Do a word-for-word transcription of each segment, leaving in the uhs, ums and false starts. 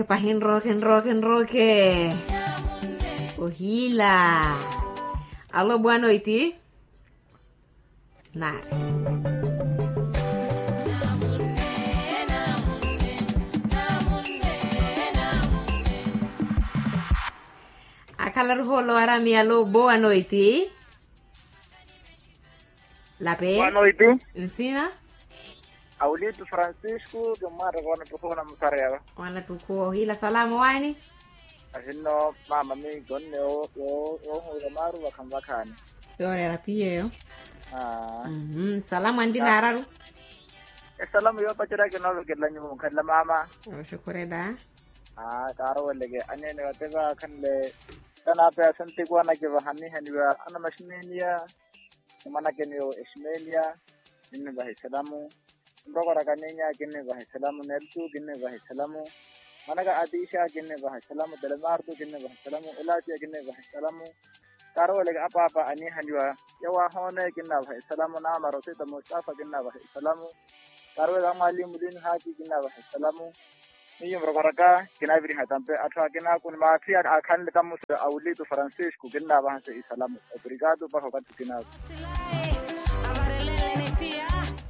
Pahi nrooke nrooke nrooke. Ohiila. Alo bwanoiti. Nari. Akhala ruhoolo arami alo bwanoiti. Lape. Bwanoiti. Nsina. Awulitu francisco, kimmwatta koona tukhuna musariyava. Wanatukhuwa ohiila salaamu waani. Asinno mama miikonne. Woohuwira maaru vakhanvakhani. Yooreera piyeyo. Salamu anti naararu. Esalamu yoopacerya kinoovekelela nyuwo nkhanle mama. Oxukhurela. Aa kaaroveleke aneene vate vaakhanle. Kanaapeya sentikuwa nakivaha nihaniwa anamaximeniya. Mwanakeni yo eximeliya. Kinnivaha esalamu. Nrokoraka ninya kinnivaha esalamu nelsu kinnivaha esalamu. Mwanaka atixa kinnivaha esalamu telemartu kinnivaha esalamu elatiya kinnivaha esalamu. Karoweleke apaapa anihaliwa. Yawahoone kinnavaha esalamu namarosita mustafa kinnavaha esalamu. Karoweleke amwalimu lini haki kinnavaha esalamu. Miyo murokoraka kinaviriha tampe atthu akinaku ni maatthi akhanle tamusi awulitu francisco kinnavahanse isalamu. Obrigado paha okathi kinaku.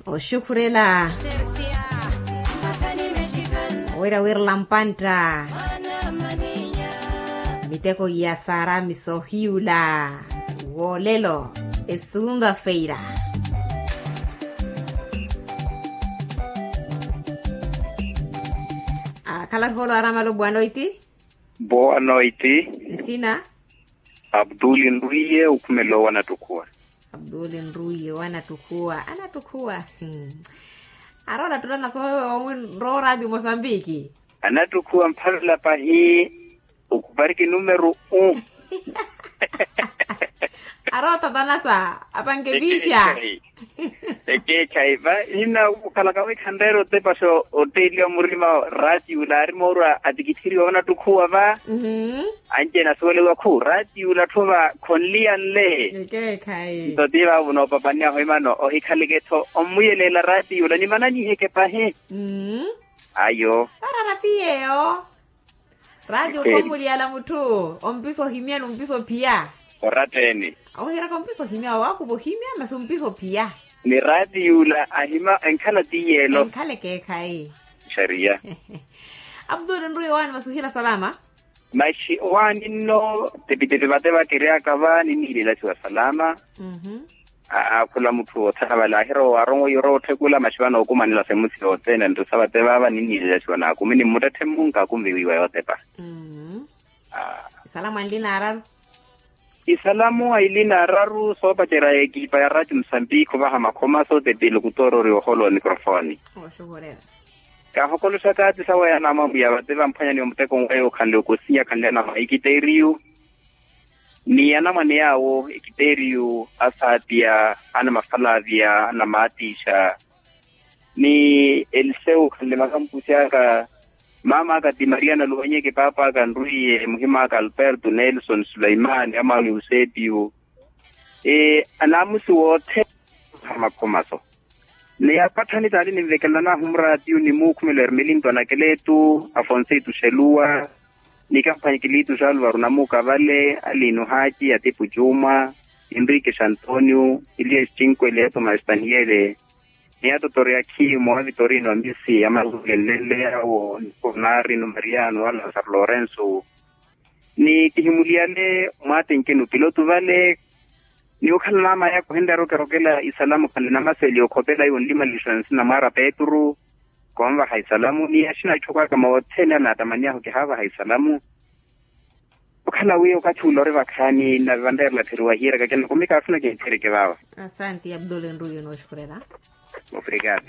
Oxukhurela. Wira wirela mpantta. Miteko ya sarami sohiyula. Wolelo. Esumba feira. Akhala holo aramalo bwanoiti. Bwanoiti. Nsina. Abduli nruiye ukhumela owo anatukhuwa. Abduli nruiye owo anatukhuwa anatukhuwa. Arola tulana sowe owi nrowo radio mosambiki. Anatukhuwa mphavela pahi. Ukupariki numeru u. Arotatanasa apankepixa. Ekeekhayi va nina ukhalaka wikhanreera otepaxa. Otteliwa murima rati ula ari moorwa atikithiriwa onattukhuwa va. Anci enasuweliwa khu rati ula atthu va khonliyanle. Nto ti vavo noopapanyaho imano ohikhaleke-tho ommuyeleela rati ula nimananyiheke pahi. Ayo. Rati ula ommuliyala mutthu ompisa ohimya ni ompisa ophiya. Oratteni. Ohiraka ompisa ohimya wawakupa ohimya masi ompisa ophiya. Ni rati yula ahima enkhala tiyeelo. Enkhala ekeekhayi. Xariya. Abduli nruye waani masi ohila salama. Maxi owaani nno. Tepitepi vate vakeryaka va ninniilela siwa salama. Aakhula mutthu othana vale ahira owarongo yorowa otthekula maxi vano okumanela semusi yothene nrisa vate vaava ninniilela siwa naakumi ni mmuttetthe mmunka akunviwiwa yootepa. Isalamu anli naararu. Isalamu aili naararu soopacerya ekipa ya rati musambikhi ovaha makhoma sootepile okutoororiwa oholo wa mikrofoni. Kaahokoloxaka ati sawa ya namwamwiya vate vamphwanyani omuteko nweyo okhanle okosinya khanle anamwa ekiteriyu. Ni anamwane yaawo ekiteriyu asaatiya anamafalaviya anamaatixa. Ni eliseu khanle makampusi aka. Mama aka ti maria naluwanyeke paapa aka nrwiye muhima aka alberto nelson sulaimani amwano eusepiyu. Anaamusi wothene. Makhomaso ni apatthani taali ninvekelela nahumura tiyu ni muukhumelo ermelinto anakeletu afonseito xeluwa. Ni kamphwanyikilitu xaluvaru namuka vale aliinu haaci atipu juma. Enrique xantonio elias cinkwele ya tomasi taniyele. Ni atotori akhimu a vitorino amisi amazulenlenle yawo ni konari no mariano a lasaro lorenso. Ni kihimuliyale mwaatenkeni opilotu vale. Ni okhala naamaya kuhenryaru kerokela isalamu khanle namaseli okhopela iwo nlimalixo nsina mwaara petru. Konvaha isalamu ni axina itthu kwaka moothene anaatamaniyahu kihaavaha isalamu. Okhala wi okathi ula ori vakhaani nave vanreerela phiri wahiiraka kena kumi kaafuna kintthirike vaava. Asanti abdul enruyo nooxukhurela. Obrigado.